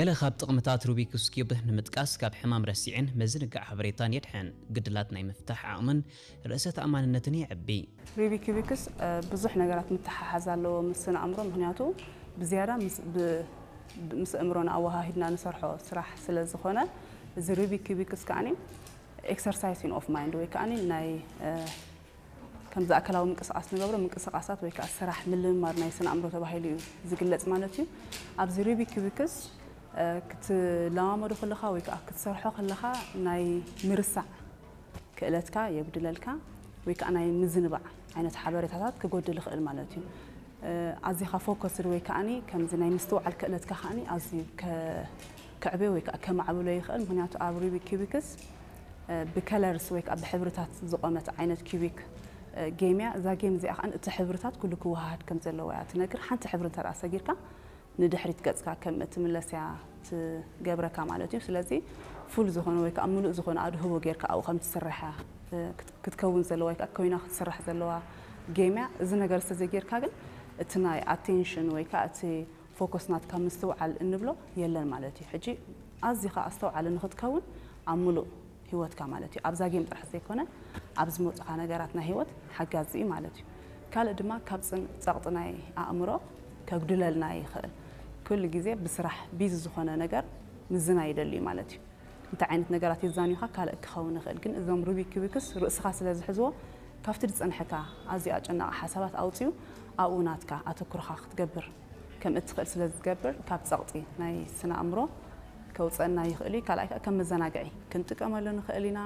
ገለ ካብ ጥቕምታት ሩቢክስ ኪዩብ ንምጥቃስ፣ ካብ ሕማም ረሲዕን ምዝንጋዕ ሓበሬታን የድሕን፣ ግድላት ናይ ምፍታሕ ዓቕምን ርእሰ ተኣማንነትን የዕቢ። ሩቢክ ኪዩብስ ብዙሕ ነገራት ምትሓሓዝ ኣለዎ ምስ ስነ ኣእምሮ፣ ምክንያቱ ብዝያዳ ምስ ኣእምሮና ኣወሃሂድና ንሰርሖ ስራሕ ስለ ዝኾነ፣ እዚ ሩቢክ ኪዩብስ ከዓኒ exercising of mind ወይ ከዓኒ ናይ ከምዚ ኣካላዊ ምንቅስቃስ ንገብሮ ምንቅስቃሳት ወይ ከዓ ስራሕ ምልምማድ ናይ ስነ ኣእምሮ ተባሂሉ እዩ ዝግለፅ ማለት እዩ። ኣብዚ ሩቢክ ኪዩብስ ክትለማመዶ ከለኻ ወይ ከዓ ክትሰርሖ ከለኻ ናይ ምርሳዕ ክእለትካ የጉድለልካ ወይ ከዓ ናይ ምዝንባዕ ዓይነት ሓበሬታታት ክጎድል ይኽእል ማለት እዩ። ኣዚኻ ፎከስድ ወይ ከዓኒ ከምዚ ናይ ምስትውዓል ክእለትካ ከዓኒ ኣዝዩ ክዕብዮ ወይ ከዓ ከማዕብሎ ይኽእል። ምክንያቱ ኣብ ሩቢክ ኪዩብስ ብከለርስ ወይ ከዓ ብሕብርታት ዝቆመት ዓይነት ኪዩቢክ ጌም እያ። እዛ ጌም እዚኣ ከዓ እቲ ሕብርታት ኩሉ ክወሃሃድ ከም ዘለዎ እያ ትነግር። ሓንቲ ሕብሪ እንተ ሰጊርካ ንድሕሪት ገፅካ ከም እትምለስ እያ ትገብረካ ማለት እዩ። ስለዚ ፉል ዝኾነ ወይ ከዓ ምሉእ ዝኾነ ኣድህቦ ጌርካ ኣብኡ ከም ትስራሕ ክትከውን ዘለዋ ወይ ከዓ ኮይና ክትስራሕ ዘለዋ ጌም እያ። እዚ ነገር ዝተዘጌርካ ግን እቲ ናይ ኣቴንሽን ወይ ከዓ እቲ ፎከስ ናትካ ምስትውዓል እንብሎ የለን ማለት እዩ። ሕጂ ኣዚኻ ኣስተውዓሊ ንክትከውን ኣብ ምሉእ ህይወትካ ማለት እዩ። ኣብዛ ጌም ጥራሕ ዘይኮነ ኣብ ዝመፁኻ ነገራት ናይ ህይወት ሓጋዚ እዩ ማለት እዩ። ካልእ ድማ ካብ ፅን- ፀቕጢ ናይ ኣእምሮ ከጉድለልና ይኽእል። ኩሉ ግዜ ብስራሕ ቢዚ ዝኾነ ነገር ምዝና ይደሊ እዩ ማለት እዩ። እንታይ ዓይነት ነገራት የዛንዩኻ ካልእ ክኸውን ይኽእል፣ ግን እዞም ሩቢክ ኪዩብስ ርእስኻ ስለ ዝሕዝዎ ካብቲ ዝፀንሐካ ኣዝዩ ኣጨናቂ ሓሳባት ኣውፅዩ ኣብኡ ናትካ ኣተኩርኻ ክትገብር ከም እትኽእል ስለ ዝገብር ካብ ፀቕጢ ናይ ስነ ኣእምሮ ከውፀና ይኽእል እዩ። ካልኣይ ከዓ ከም መዘናግዒ ክንጥቀመሉ ንኽእል ኢና።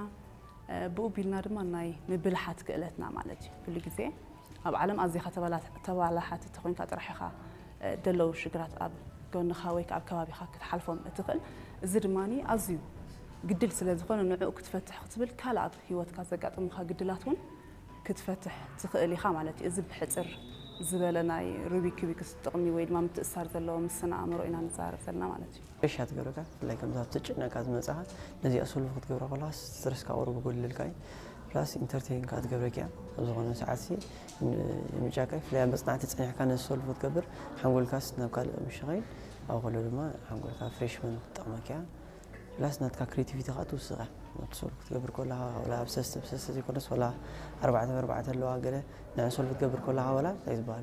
ብኡ ቢልና ድማ ናይ ምብልሓት ክእለትና ማለት እዩ። ኩሉ ግዜ ኣብ ዓለም ኣዚኻ ተባላሓቲ ተኮንካ ጥራሕ ኢኻ ደለዉ ሽግራት ኣብ ጎንኻ ወይ ኣብ ከባቢኻ ክትሓልፎም እትኽእል። እዚ ድማ ኣዝዩ ግድል ስለ ዝኾነ ንዕኡ ክትፈትሕ ክትብል ካልእ ኣብ ህይወትካ ዘጋጥሙኻ ግድላት እውን ክትፈትሕ ትኽእል ኢኻ ማለት እዩ። እዚ ብሕፅር ዝበለ ናይ ሩቢክ ኪዩብስ ጥቕሚ ወይ ድማ ምትእሳር ዘለዎ ምስ ስነ ኣእምሮ ኢና ንዛረብ ዘለና ማለት እዩ። ሬሻ ትገብረካ ብፍላይ ከምዚ ኣብ ተጨነቃ ዝመፅኻ ነዚኣ ሶልቭ ክትገብራ ከለካ ስትረስካ ቁሩብ ይጎድለልካ እዩ። ፕላስ ኢንተርቴን ከዓ ትገብረኪ እያ። ኣብ ዝኾነ ሰዓት ሲ ምጫቀ ብፍላይ ኣብ መፅናዕቲ ፀኒሕካ ነዚ ሶልቭ ክትገብር ሓንጎልካስ ናብ ካልእ ምሸኸይን ኣብ ከሎ ድማ ሓንጎልካ ፍሬሽመን ክትጠቕመኪ እያ። ፕላስ ናትካ ክሬቲቪቲ ከዓ ትውስኸ ናብቲ ሶልቭ ክትገብር ከለካ ወላ ኣብ ሰስተ ብሰስተ ዘይኮነስ ወላ ኣርባዕተ ብኣርባዕተ ኣለዋ ገለ ንዕን ሶልቭ ክትገብር ከለካ ወላ እንታይ ዝበሃል